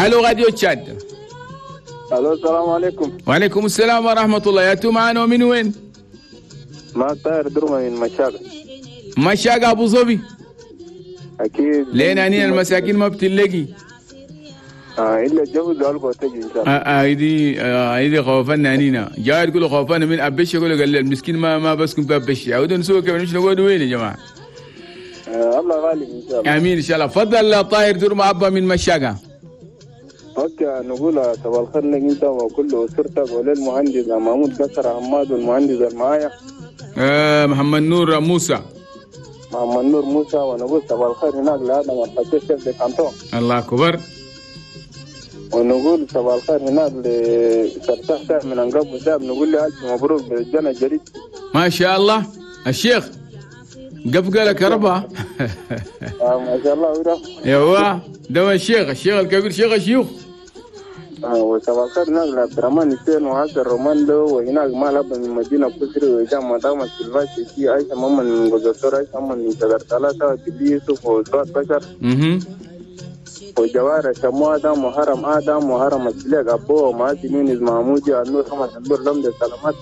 الو راديو تشاد. الو السلام عليكم. وعليكم السلام ورحمة الله. يا تو معانا ومن وين؟ ما طاهر درمه من مشاقة. مشاقة ابو ظبي. اكيد لين انين المساكين ما بتلاقي. الا الجو قالوا تجي ان شاء الله. هيدي خوفنا انينا جاي تقولوا خوفنا من ابش، يقولوا قال المسكين ما بسكن في ابش. عودوا نسوق كيف نمشي نقعد وين يا جماعة؟ الله غالب ان شاء الله. امين ان شاء الله. تفضل طاهر درمه ابا من مشاقة. okay نقول صباح الخير لك انت وكل اسرتك وللمهندس محمود قصر حماد والمهندس المعايا محمد نور موسى. محمد نور موسى. ونقول صباح الخير هناك لادم الحسين chef de canton. الله اكبر. ونقول صباح الخير هناك لسرتاح من انقب وساب، نقول له الف مبروك بالجنة الجديد. ما شاء الله الشيخ قفقه لك ربها. ما شاء الله. ايوه ده الشيخ الكبير شيخ الشيوخ. وصباح الخير هناك لعبد الرحمن حسين وحسن روماندو، وهناك مال أبا من مدينة كسري، وهشام مدام السلفاشي، عايشة محمد من جزر، عايشة محمد من شجر ثلاثة، وجدي يوسف وزوات بشر، وجوار شمو آدم وهرم آدم وهرم السلاق أبو ومعاتي نونز محمودي النور حمد النور لمد السلامات.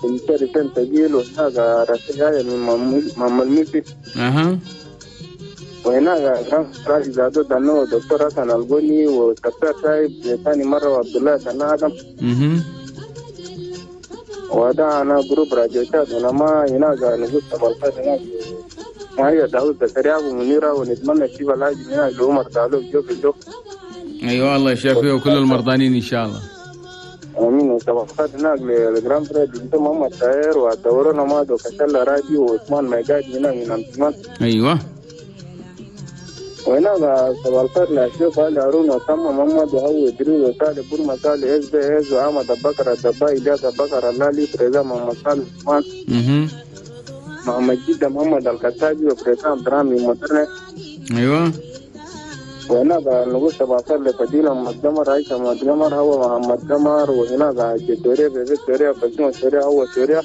ومشاري ثقيل، وهناك رسيل من محمد ميسي. وهناك كان راجل زادو دانو دكتور حسن الغني وكابتن شايب ثاني مرة وعبد الله دنا آدم. وده أنا groupe راديو تشاد. أنا ما هناك نقول صباح الخير هناك ما هي داود زكريا ومنيرة، ونتمنى الشفاء العاجل هناك لعمر دالو جو في جو. أيوة الله يشافيه وكل المرضانين إن شاء الله. امين. وصباح الخير هناك لل grand frère بنت محمد طاهر ودورونا مادو كشلا راديو وعثمان ميقاد هناك من أمسمان. أيوة. وهناك صباح الخير لأشرف علي هارون وسامة محمد وهو إدريس وصالح بورما صالح اس بي اس وأحمد أبو بكر الدباي إلياس أبو بكر اللالي بريزا محمد صالح عثمان محمد جدة محمد الكتابي وبريزا عبد الرحمن مدرنة. أيوة. وهناك نقول صباح الخير لفضيلة محمد قمر عائشة محمد قمر هو محمد قمر، وهناك جدوريا بيبي سوريا بسمة سوريا هو سوريا.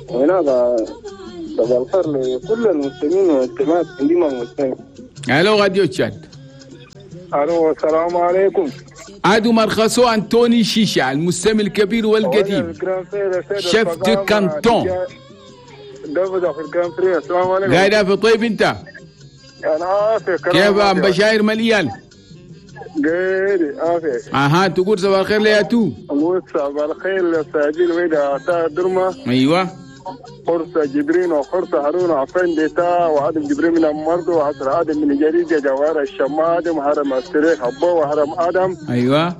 وهناك صباح الخير لكل المسلمين والمسلمات عندما المسلمين. الو راديو تشاد. الو السلام عليكم. عادو مرخصو انتوني شيشة المستمع الكبير والقديم chef de canton. السلام عليكم. قاعد في طيب انت؟ انا عافية. كيف ام بشاير مليان؟ قيري عافية. اها تقول صباح الخير ليا تو. نقول صباح الخير للساجين ويدا عطاء درمه. ايوه. خرصة جبرين وخرصة هارون وعفان ديتا وعدم جبرين من المرض وعصر آدم من جريدة جوار الشمادم وهرم السريح أبو وهرم آدم. أيوة.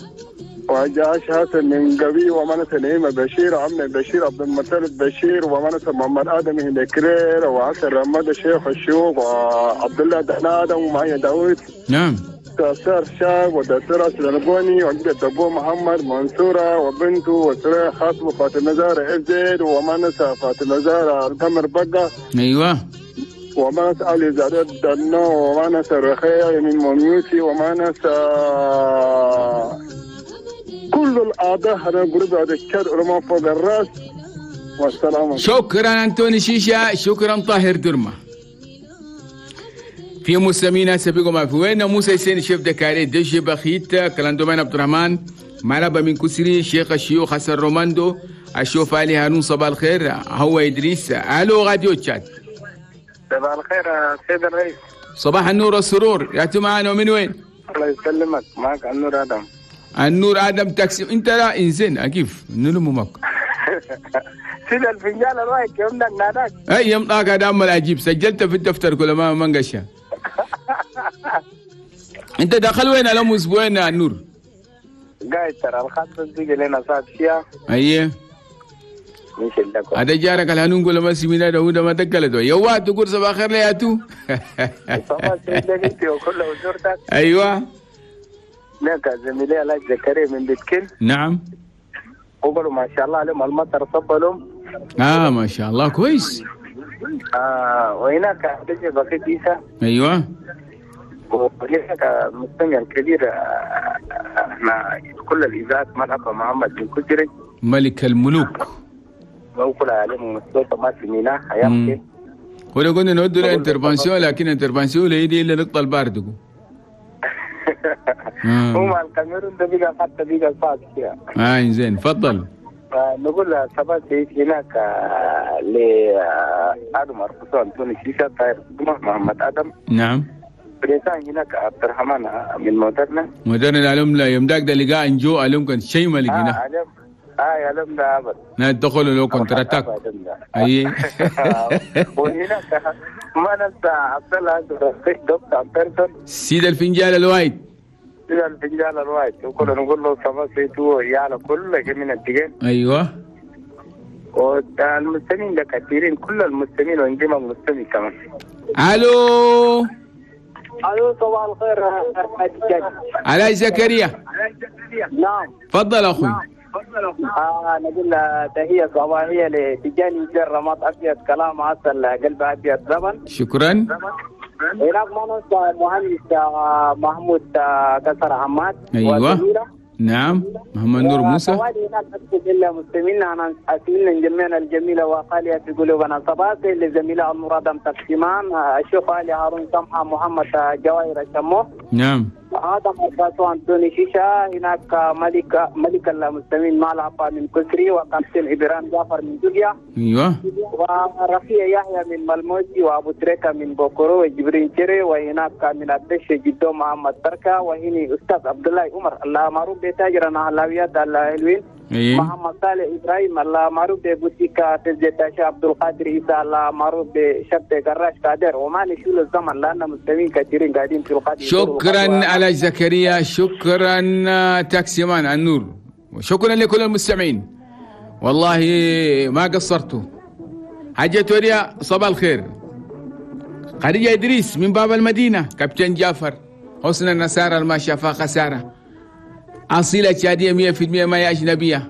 وجاش حسن من قبي ومنس نعيمة بشير عمنا بشير عبد المطلب بشير ومنس محمد آدم هنا كرير وعصر رماد الشيخ الشيوخ وعبد الله دهن آدم ومعي داوود. نعم. دكتور شاب ودكتور أسلم وعند أبو محمد منصورة وبنته وسرية خاطب فاطمة زهرة إف زد ومنسى فاطمة زهرة القمر بقى. أيوة. ومنسى علي زادات دنو ومنسى رخية من مميوسي ومنسى كل الأعضاء هذا groupe هذا الشر علماء فوق الرأس. والسلام. شكرا أنتوني شيشة، شكرا طاهر درمة. في مستمعينا سبيكم ما في وين موسى حسين chef de carré دج بخيت كلاندومان عبد الرحمن مالبا من كسري شيخ الشيوخ حسن روماندو الشوف علي هارون صباح الخير هو ادريس. الو راديو تشاد. صباح الخير سيد الرئيس. صباح النور والسرور. يا معنا ومن وين؟ الله يسلمك، معك النور ادم. النور ادم تاكسي انت لا انسان كيف نلمك سيد الفنجان الرايك يومنا ناداك. اي يمطاك هذا عمل عجيب سجلت في الدفتر كل ما منقشه. انت دخل وين لهم اسبوعين يا النور؟ قاعد ترى الخط بيجي لنا صاد فيها. ايوه هذا جارك الهنون قول ما سمينا ده ما دقلته يوا تقول صباح الخير يا تو. صباح الخير انت وكل وزورتك. ايوه لك زميلي الله زكريا من بيتكن. نعم. وقالوا ما شاء الله عليهم المطر صب لهم. ما شاء الله كويس. وهناك بيجي بقيت عيسى. ايوه. وهناك مستمع الكبير احنا كل الاذاعات ملعب محمد بن كجري ملك الملوك. وكل عليهم مستوى ما سميناه ايام ولا قلنا نود له intervention لكن intervention لا يدي الا نقطة البارد. هو مع الكاميرون ده بقى حتى بقى صعب كده. زين تفضل. نقول صباح سعيد هناك لآدم أرقصو أنتوني شيشة طاير محمد آدم. نعم. بريسان هناك عبد الرحمن من مودرنا. مودرنا العلوم لا يوم داك ده لقاء انجو علوم كان شيء ما لقيناه. علوم ده أبد. ندخل لو contre-attaque. أي. وهناك ما ننسى عبد الله دكتور بيرسون. سيد الفنجان الوايد. سيد الفنجان الوايد وكنا نقول له صباح سعيد ويانا كل من الدقين. أيوه. والمستمعين ده كثيرين، كل المستمعين وعندنا مستمع كمان. الو. الو صباح الخير. علاء زكريا. نعم تفضل اخوي. نقول تحية صباحية لتجاني جر رماد ابيض، كلام عسل قلب ابيض زمن. شكرا. هناك ما ننسى المهندس محمود كسر عماد. ايوه نعم محمد نور موسى. هناك إلا مستمعينا أسمنا جميعنا الجميلة وخالية في قلوبنا. صباح للزميلة المرادم تقسيمان الشيخ علي هارون سمحة محمد جواهر الشمو. نعم آدم أرباسو أنتوني شيشة. هناك ملك المستمعين مالعبا من كسري، وكابتن إبراهيم جعفر من جوجيا. أيوة ورفيع يحيى من ملموسي، وأبو تريكة من بوكورو، وجبرين شيري، وهناك من الدش جدو محمد بركة، وهني أستاذ عبد الله عمر الله معروف بتاجرنا حلاويات الحلوين. أيه. محمد صالح إبراهيم الله معروف ببوتيكا تزيتاشا، عبد القادر عيسى الله معروف بشبت قراش قادر. وما نشيل الزمن لأن مستمعين كثيرين قاعدين في القادم. شكرا على زكريا، شكرا تاكسي مان النور، وشكرا لكل المستمعين، والله ما قصرتوا. حاجة توريا صباح الخير. خديجة إدريس من باب المدينة، كابتن جعفر حسن النصارى ما شافا خسارة، أصيلة شادية 100% ما هي أجنبية،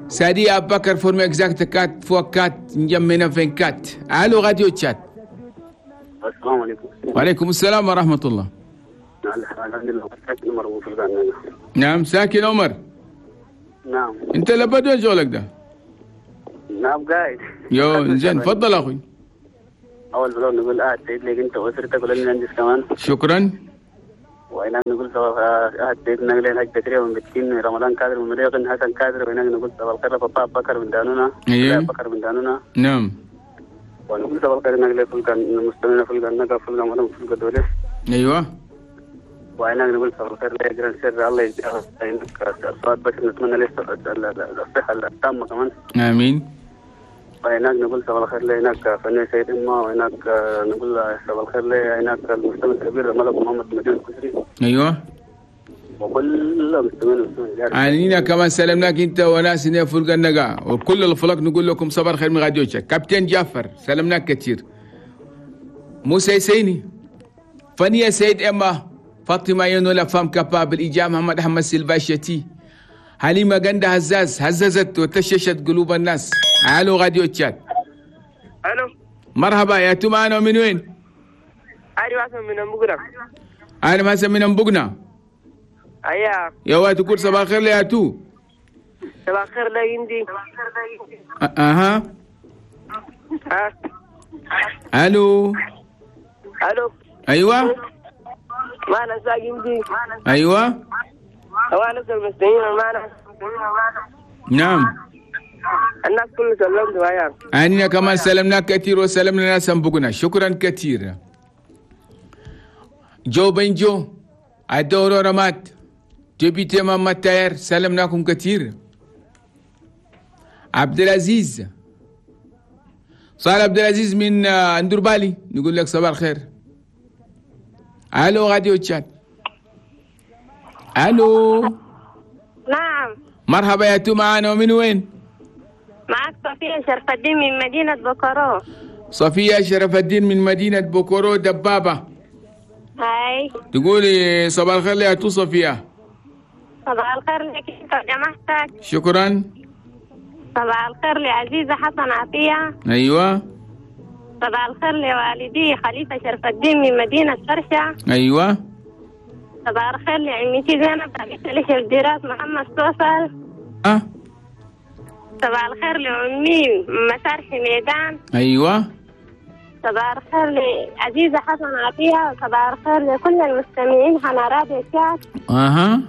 سادية أبو بكر forme exacte quatre fois quatre نجمنا vingt-quatre. ألو راديو تشاد. السلام عليكم. وعليكم السلام ورحمة الله. الحمد لله. ساكن عمر. نعم ساكن عمر. نعم. أنت لبد وين شغلك ده؟ نعم قاعد. يو زين تفضل أخوي. أول بلون نقول سعيد لك أنت وأسرتك وللمهندس كمان. شكرا. وهناك نقول صباح سيدنا لين حج زكريا من بتين، رمضان كادر من مريق، حسن كادر. وهناك نقول صباح الخير بابا بكر من دانونا. أيوه بكر من دانونا. نعم. ونقول صباح الخير نقل فلك المستمعين فلك النقا فلك مدام فلك دولة. أيوه. وهناك نقول صباح الخير لأجران سر الله يجزاه الصواب، بس نتمنى له الصحة التامة كمان. آمين. وهناك نقول صباح الخير لهناك فني سيد إما، وهناك نقول صباح الخير لهناك المستمع الكبير ملك محمد مدين الكسري. أيوه. وكل المستمعين. عنينا كمان سلمناك أنت وناس فرق النقا وكل الفلك، نقول لكم صباح الخير من راديو تشاد. كابتن جعفر سلمناك كثير. موسى يسيني فنية سيد إما، فاطمة ينولا femme capable، إجا محمد أحمد سيلفاشيتي، حليمة غندا هزاز هززت وتششت قلوب الناس. الو راديو تشاد. الو مرحبا يا تو معنا من وين؟ ايوه حسن من امبقنا. انا حسن من امبقنا. ايوه يا واد تقول صباح الخير يا تو. صباح الخير لا عندي. اها الو الو ايوه معنا ساقي. ايوه وانا المستمعين معنا. نعم الناس كله سلمت وياك. أنا كمان سلمناك كثير وسلمنا ناس بقنا. شكرا كثير. جو بنجو الدورو رمات député محمد تاير سلمناكم كثير. عبد العزيز صالح عبد العزيز من اندربالي نقول لك صباح الخير. الو راديو تشاد. الو نعم مرحبا يا تو معانا ومن وين؟ معك صفية شرف الدين من مدينة بوكورو. صفية شرف الدين من مدينة بوكورو دبابة. هاي تقولي صباح الخير يا تو صفية. صباح الخير لك انت وجماعتك. شكرا. صباح الخير لعزيزة حسن عطية. ايوه. صباح الخير لوالدي خليفة شرف الدين من مدينة فرشة. ايوه. صباح الخير لعمتي زينب بنت الدراس محمد توصل. أه. صباح الخير لأمي مسار حميدان. ايوه. صباح الخير لعزيزة حسن عطية. صباح الخير لكل المستمعين على راديو تشاد. اها.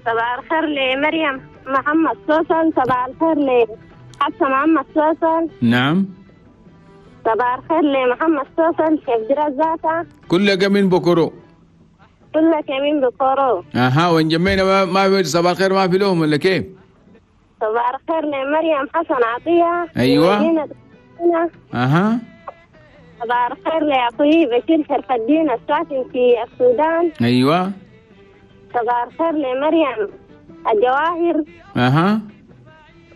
صباح الخير لمريم محمد سوسن. صباح الخير لحفصة محمد سوسن. نعم. صباح الخير لمحمد سوسن شيف دراس ذاته. كلك من بكرو. كلك من بكرو. اها، وين جمينا ما في صباح الخير ما في لهم ولا كيف؟ صباح الخير لمريم حسن عطية. ايوه. اها. صباح الخير لأخوي بشير شرف الدين الساكن في السودان. ايوه. صباح الخير لمريم الجواهر. اها.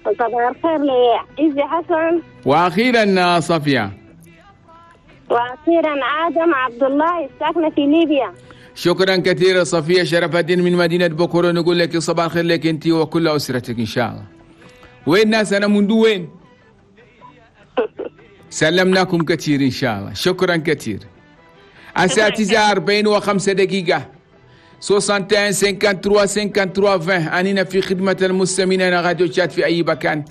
وصباح الخير لعزي حسن. واخيرا صفية. واخيرا ادم عبد الله الساكنة في ليبيا. شكرا كثيرا صفية شرف الدين من مدينة بكرة. نقول لك صباح الخير لك انت وكل اسرتك ان شاء الله. وين ناس انا منذ وين؟ سلمناكم كثير ان شاء الله. شكرا كثير. الساعة 9:45 61 53 53 20. أننا في خدمة المستمعين. أنا راديو تشاد في أي مكان.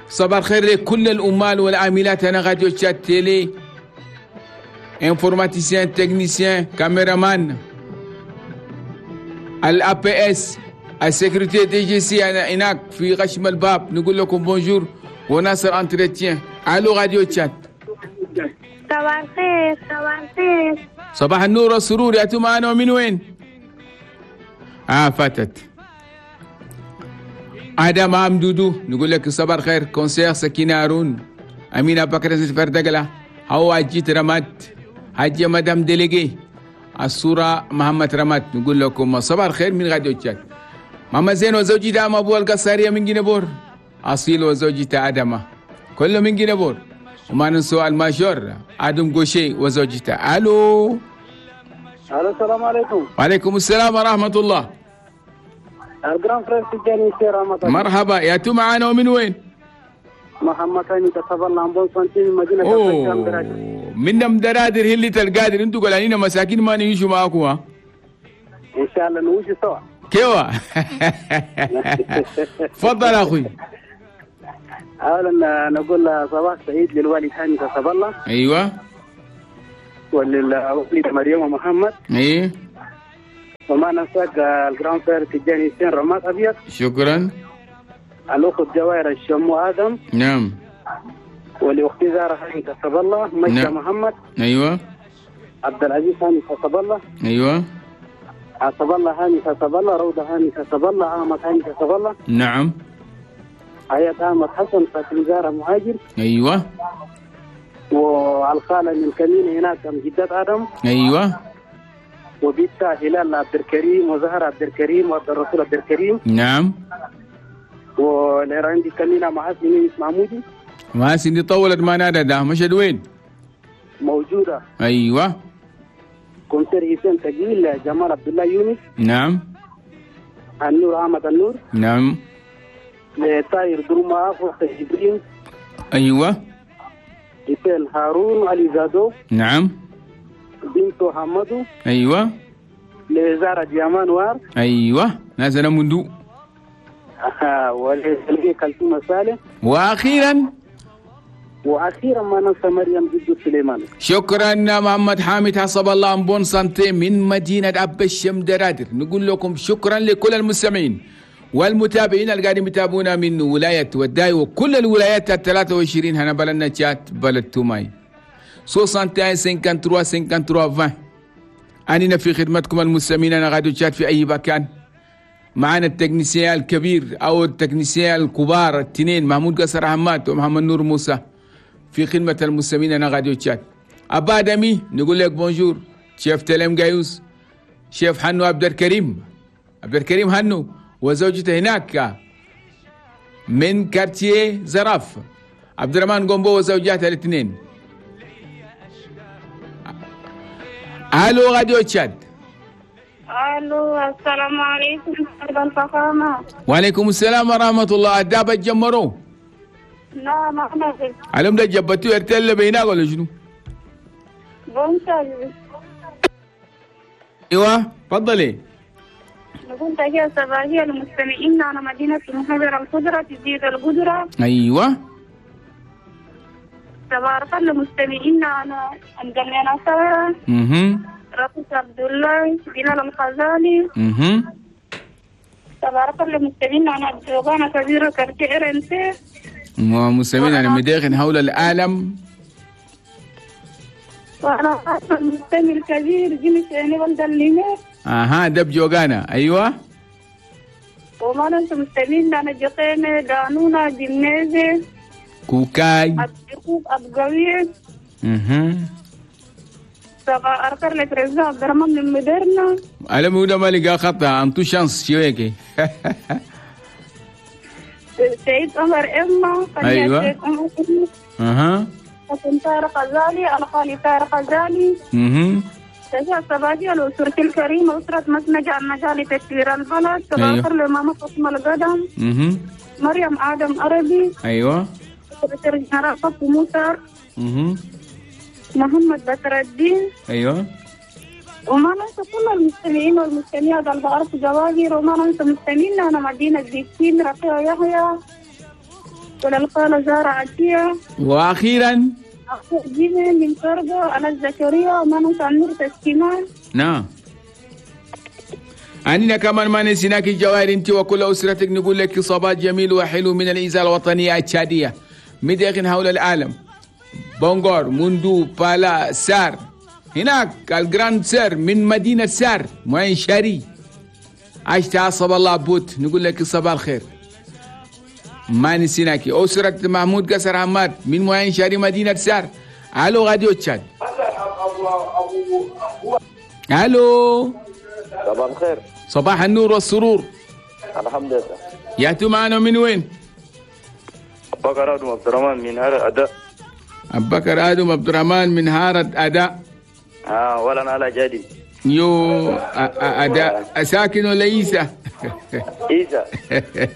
صباح الخير لكل الأمال والعاملات. أنا راديو تشاد télé، informaticien، technicien، caméraman، ال APS، ال sécurité DGC. أنا هناك في غشم الباب. نقول لكم bonjour. وناصر entretien. الو راديو تشاد. صباح الخير. صباح الخير. صباح النور والسرور. يا معنا ومن وين؟ فاتت. آدم عم دودو نقول لك صباح الخير. كونسير سكينة هارون، أمينة بكر فردقلة، هو جيت رمات، حاجة مدام déléguée، الصورة محمد رمات. نقول لكم صباح الخير من راديو تشاد. ماما زين وزوجي دام أبو القصارية من جنبور، أصيل وزوجته آدمة كله من جنبور. وما ننسوا الماجور آدم قوشي وزوجته. ألو. الو السلام عليكم. وعليكم السلام ورحمة الله. ال grand frère تجاني سير رمضان. مرحبا، يا تو معانا ومن وين؟ محمد هاني تصبر en bonne santé من مدينة من مدرادر هي اللي تلقادر. انتوا قلانين مساكين ما نيجوا معاكم. ها؟ ان شاء الله نوجي سوا. كيوا. تفضل اخوي. اولا نقول صباح سعيد للوالد هاني تصبر الله. ايوه. وللوالد مريم محمد. ايه. وما ننساك ال grand frère تجاني سين رماد ابيض. شكرا. الاخت جواهر الشمو ادم. نعم. ولاختي زهره هاني كسب الله. مجد نعم. محمد. ايوه. عبد العزيز هاني كسب الله. ايوه. عصب الله هاني كسب الله. روضه هاني كسب الله. احمد هاني كسب الله. نعم. حياة احمد حسن فاطمه زهره مهاجر. ايوه. والخاله من كمين هناك جدات ادم. ايوه. وبيتا هلال عبد الكريم وزهره عبد الكريم وعبد الرسول عبد الكريم. نعم. والعندي كمينة محاسن محمودي. محاسن دي طولت ما نادى ده مشهد وين؟ موجودة. ايوه. commissaire حسين تقيل جمال عبد الله يونس. نعم. النور احمد النور. نعم. طاير دروما فوق جبرين. ايوه. حسين هارون علي زادو. نعم. بنتو حمدو. ايوه. لزارة ديامان وار. ايوه نازل مندو. ولي كلثوم صالح. واخيرا ما ننسى مريم جدو سليمان. شكرا محمد حامد حسب الله en bonne santé من مدينة أب الشم درادر. نقول لكم شكرا لكل المستمعين والمتابعين اللي قاعدين يتابعونا من ولاية وداي وكل الولايات ال 23 هنا بلدنا تشاد بلد توماي. 61 53 53 20. أننا في خدمتكم المستمعين. أنا راديو تشاد في أي مكان. معنا ال technicien الكبير أو ال technicien الكبار التنين محمود قصر حماد ومحمد نور موسى في خدمة المستمعين. أنا راديو تشاد. أبا دمي نقول لك bonjour. شيف تلم جايوس، شيف حنو عبد الكريم، عبد الكريم هنو وزوجته هناك من quartier زراف، عبد الرحمن قومبو وزوجاته الاثنين. الو راديو تشاد. الو السلام عليكم سيد الفخامة. وعليكم السلام ورحمة الله. الدابة تجمروا؟ لا ما نزل. علم ده جبتو ارتل بيناك ولا شنو؟ بونتل. ايوه تفضلي. نقول تحية صباحية للمستمعين على مدينة المحاضرة الخضرة تزيد القدرة. ايوه. صباح الخير لمستمعينا على الجنة سارة. رئيس عبد الله بلال الخزالي. صباح الخير لمستمعينا على الجوغانة كبيرة كرتي إرنسي. ومستمعينا على مداخل حول العالم. وأنا المستمع الكبير جيمس يعني ولد الليمير. أها دب جوغانا. أيوة. وما ننسى مستمعين أنا جقيمة دانونا جمنيزي كوكاي أبقوك أبقوي. صباح الخير لبريزا عبد الرحمن من مديرنا. أنا مودا ما لقى خطأ أنتو شانس شويكي. سيد عمر إما. أيوة. سيد عمر إما. أها. حسن طارق غزالي الخالي طارق غزالي. تجاه صباحي الأسرة الكريمة أسرة مسنجة النجاة لتسوير البلد. صباح الخير لماما فاطمة القدم. مريم آدم عربي. أيوة. سكرتير جنرال صف موسى. محمد بكر الدين. أيوة. وما ننسى كل المستمعين والمستمعات على بعرف جواهر. وما ننسى مستمعينا أنا مدينة بيتين رقية يحيى وللقالة زارة عتية. وأخيرا جيمي من كربو أنا زكريا. وما ننسى النور تسكيمان. نعم. أننا كمان ما نسيناك الجواهر أنت وكل أسرتك. نقول لك صباح جميل وحلو من الإذاعة الوطنية التشادية مداخل حول العالم. بونغور موندو بالا سار هناك الجراند سير من مدينة سار معين شاري عشت عصب الله بوت. نقول لك صباح الخير ما نسيناك. أسرة محمود قصر حماد من معين شاري مدينة سار. ألو راديو تشاد. ألو صباح الخير. صباح النور والسرور. الحمد لله. ياتوا معنا من وين؟ أبو بكر آدم عبد الرحمن من هارة أداء. أبو بكر آدم عبد الرحمن من هارة أداء. ولا أنا على جادي. يو أداء ساكن ولا عيسى؟ عيسى.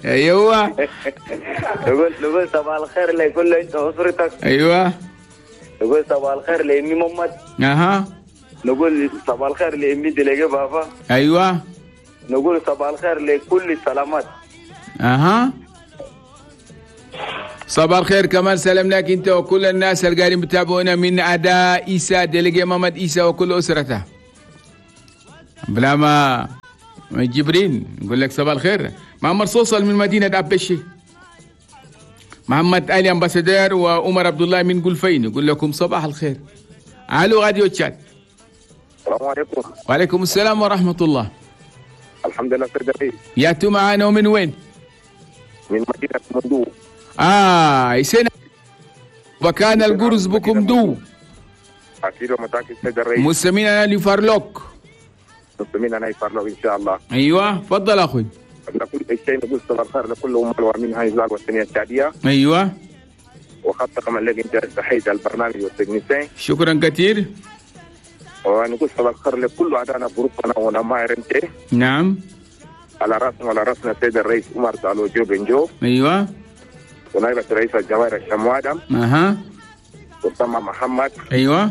أيوه. نقول صباح الخير لكل أنت وأسرتك. أيوه. نقول صباح الخير لأمي محمد. أها. نقول صباح الخير لأمي دليجي بابا. أيوه. نقول صباح الخير لكل السلامات. أها. صباح الخير كمان سلامناك انت وكل الناس اللي قاعدين بتابعونا من اداء عيسى ديليجي محمد عيسى وكل اسرته. بلا ما جبرين نقول لك صباح الخير. محمد صوصل من مدينة أبشي. محمد علي امباسادور وعمر عبد الله من قلفين نقول لكم صباح الخير. الو راديو تشاد. السلام عليكم. وعليكم السلام ورحمة الله. الحمد لله سيدي. ياتوا معانا ومن وين؟ من مدينة مندو. يسنا وكان القرز بكم دو. أكيد ومتأكد سيد الرئيس. مستمعين أنا لفارلوك. مستمعين أنا لفارلوك إن شاء الله. أيوة تفضل أخوي. قبل كل شيء نقول صباح الخير لكل أم الوامين هاي الزال والسنية التعدية. أيوة. وخاصة كمان لك أنت تحية البرنامج والتكنيسين. شكرا كثير. ونقول صباح الخير لكل أعدائنا جروبنا ونما رنتي. نعم. على راسنا وعلى راسنا السيد الرئيس عمر دالو جو بنجو. أيوة. ونائبة رئيس الجوائر الشمو آدم. أها. أسامة محمد. أيوة.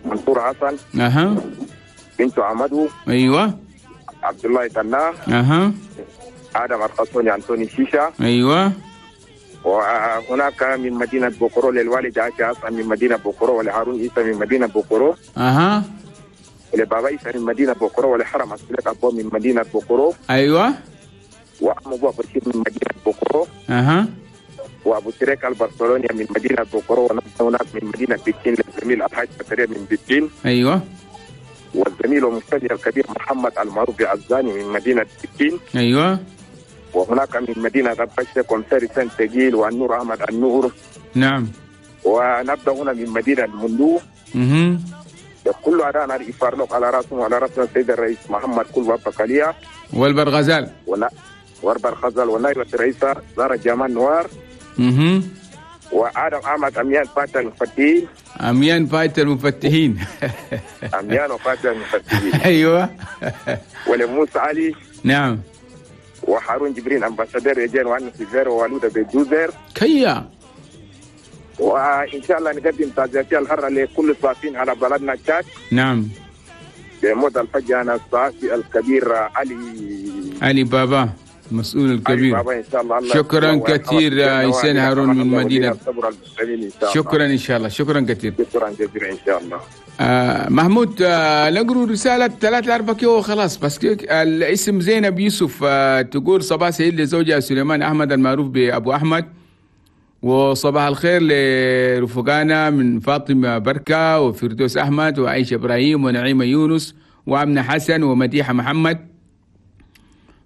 منصور حسن. أها. بنت عمدو. أيوة. عبد الله تنا. أها. آدم القصوني أنتوني شيشة. أيوة. وهناك من مدينة بوكورو للوالد عائشة حسن من مدينة بوكورو، ولهارون عيسى من مدينة بوكورو. أها. ولبابا عيسى من مدينة بوكورو، ولحرم عسلك أبو من مدينة بوكورو. أيوة. وأم أبو بشير من مدينة بوكورو. أها. وابو تريك البرشلوني من مدينة بوكورو، وهناك من مدينة بكين للزميل الحاج زكريا من بكين. ايوه. والزميل والمستشار الكبير محمد المعروف عزاني من مدينة بكين. ايوه. وهناك من مدينة غبشه كومساري سان تجيل والنور احمد النور. نعم. ونبدا هنا من مدينة المندو. كل أدانا الإفارلوك على راسهم وعلى راسنا السيد الرئيس محمد كل بكاليا والبرغزال والبرغزال ونائبة الرئيسة زارة جمال نوار. وآدم أحمد أميان فاتح المفتحين. أميان فاتح المفتحين. أميان وفاتح المفتحين. أيوة. ولموسى علي. نعم. وهارون جبرين أمباسادور رجال وأنا سيزير ووالودة بجوزر. كيا. وإن شاء الله نقدم تعزيتي الحرة لكل الصافين على بلدنا تشاد. نعم. بموت الفجأة الصحفي الكبير علي بابا. المسؤول الكبير. بابا ان شاء الله. شكرا كثير حسين هارون من مدينة. شكرا ان شاء الله، شكرا كثير. شكرا جزيلا ان شاء الله. محمود، نقرأ رسالة 3 4 كيو وخلاص. بس الاسم زينب يوسف، تقول صباح سعيد لزوجها سليمان أحمد المعروف بأبو أحمد، وصباح الخير لرفقانا من فاطمة بركة وفردوس أحمد وعائشة إبراهيم ونعيمة يونس وأمنة حسن ومديحة محمد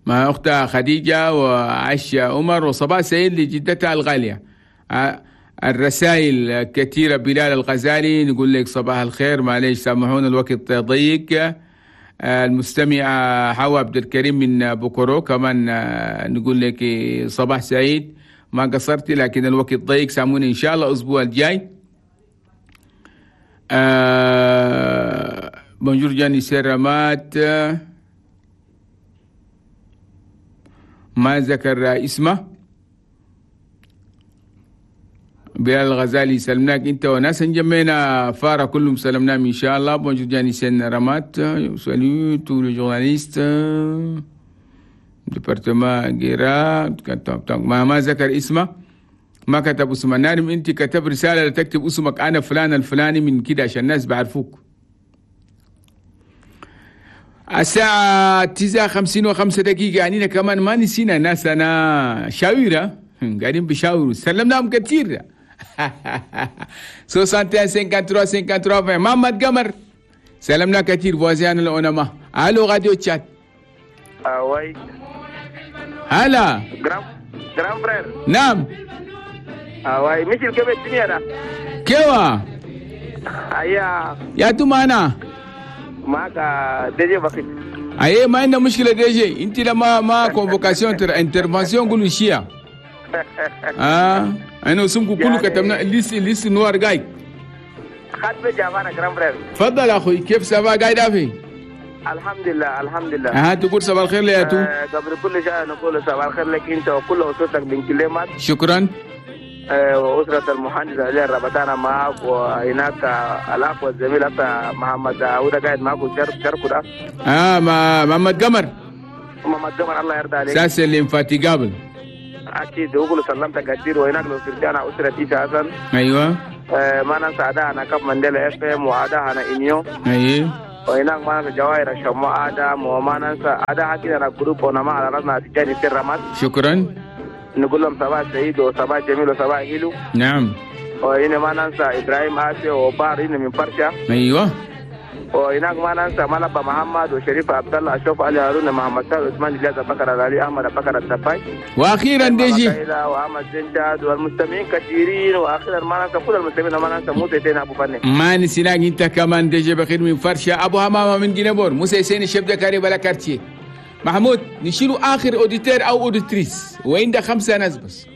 مع أختها خديجة وعائشة عمر، وصباح سعيد لجدتها الغالية. الرسائل كثيرة. بلال الغزالي نقول لك صباح الخير، معليش سامحونا الوقت ضيق. المستمعة حوا عبد الكريم من بوكورو كمان نقول لك صباح سعيد، ما قصرتي لكن الوقت ضيق، سامحوني إن شاء الله الأسبوع الجاي. bonjour جاني سيرامات، ما ذكر اسمه. بلال الغزالي سلمناك انت وناس جمينا فارا كلهم سلمناهم ان شاء الله. bonjour جاني سين رمات، salut tous les journalistes département غيرا، ما ذكر اسمه، ما كتب اسمه. نارم انت كتب رسالة تكتب اسمك، انا فلان الفلاني من كده عشان الناس بعرفوك. الساعة 9:55 يعني كمان ما نسينا ناس انا شاويرة قاعدين بيشاوروا، سلمناهم كثير. 61 53 53 محمد قمر سلمنا كثير. voisin الأونما. الو راديو تشاد. oui هلا grand frère. نعم. oui مثل كيف الدنيا ده؟ كيوا؟ ايا يا تمانا معك DG بخيت. اي ما عندنا مشكلة DG، انت لما ما convocation intervention قولوا شيا. انا اسمكم كله كتبنا liste noire جاي. خد جافانا grand frère. تفضل اخوي، كيف ça va قاعد افي؟ الحمد لله الحمد لله. تقول صباح الخير ليا تو. قبل كل شيء نقول صباح الخير لك انت وكل اسرتك من كلمات. شكرا. وأسرة المهندس علي الربطانة معك، وهناك الأخ والزميل محمد داوود قاعد معك وشاركوا ده. محمد قمر. محمد قمر الله يرضى عليك. ساس l'infatigable. أكيد وقول سلمتك كثير. وهناك لو أنا أسرة إيسا حسن. أيوه. ما ننسى أداء أنا كاب مانديلا FM وأداء أنا إنيو. أيوه. وهناك ما ننسى جواهر الشماء آدم، وما ننسى أداء كده أنا groupe ونما على رأسنا تجاني سر. شكرا. نقول لهم صباح سعيد وصباح جميل وصباح حلو. نعم. وهنا ما ننسى ابراهيم آسي وبار هنا من فرشة. ايوه. وهناك ما ننسى ملبى محمد وشريف عبد الله اشوف علي هارون محمد سعد عثمان الياس بكر العلي احمد بكر الدفاي. واخيرا DG واحمد زنجاد والمستمعين كثيرين. واخيرا ما ننسى كل المستمعين، ما ننسى موسى سين ابو فني. ما نسيناك انت كمان DG بخير من فرشة، ابو همامه من جنبور، موسى سين chef de carré بلا quartier. محمود نشيلوا اخر auditeur او auditrice، وعند 5 ناس بس.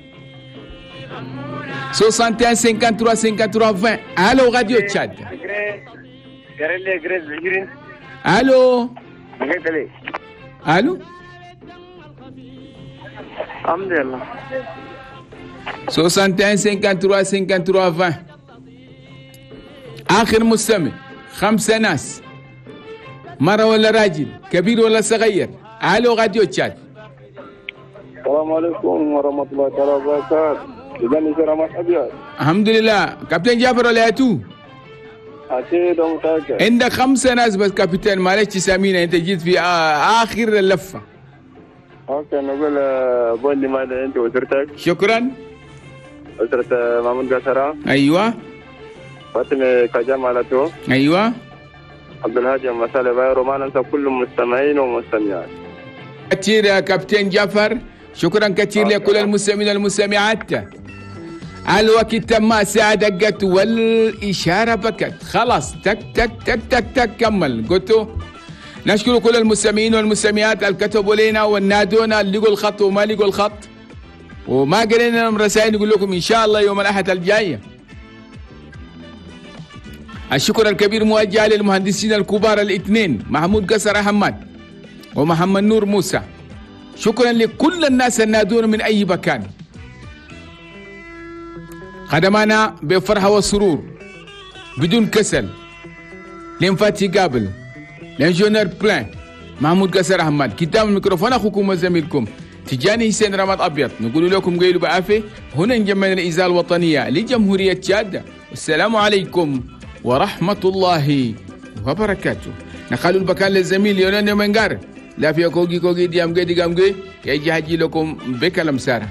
61 53 53 20. الو راديو تشاد. الو الو. الحمد لله. 61 53 53 20. اخر مستمع، 5 ناس، مرة ولا راجل، كبير ولا صغير. الو راديو تشاد. السلام عليكم ورحمة الله تعالى وبركاته. الحمد لله. كابتن جعفر ولا تو؟ أكيد ومتأكد. عندك 5 ناس بس كابتن، معلش تسامينا أنت جيت في آخر اللفة. okay نقول بولي ماذا أنت وأسرتك. شكرا. أسرة محمود قصرة. أيوة. فاطمة كجام على تو. أيوة. عبد الهادي مسالة بايرو. ما ننسى كل المستمعين والمستمعات. كثير يا كابتن جعفر، شكرا كثير لكل المستمعين والمستمعات. الوقت تم، الساعة دقت والإشارة بكت، خلاص تك تك تك تك تك كمل. قلتوا نشكر كل المستمعين والمستمعات اللي كتبوا لنا والنادونا، اللي لقوا الخط وما لقوا الخط وما قرينا لهم رسائل، نقول لكم إن شاء الله يوم الأحد الجاية. الشكر الكبير موجه للمهندسين الكبار الاثنين، محمود قصر حماد ومحمد نور موسى. شكرا لكل الناس النادون من أي مكان، خدمانا بفرحة وسرور بدون كسل. l'infatigable l'ingénieur plein محمود قصر أحمد. كتاب الميكروفون أخوكم وزميلكم تجاني حسين رماد أبيض. نقول لكم قيلوا بعافية. هنا نجمعنا الإذاعة الوطنية لجمهورية تشاد. والسلام عليكم ورحمة الله وبركاته. نخلوا البكان للزميل يونان منقار لا في كوجي كوجي ديام جي ديام جي يجي هجي لكم بكلام سارة.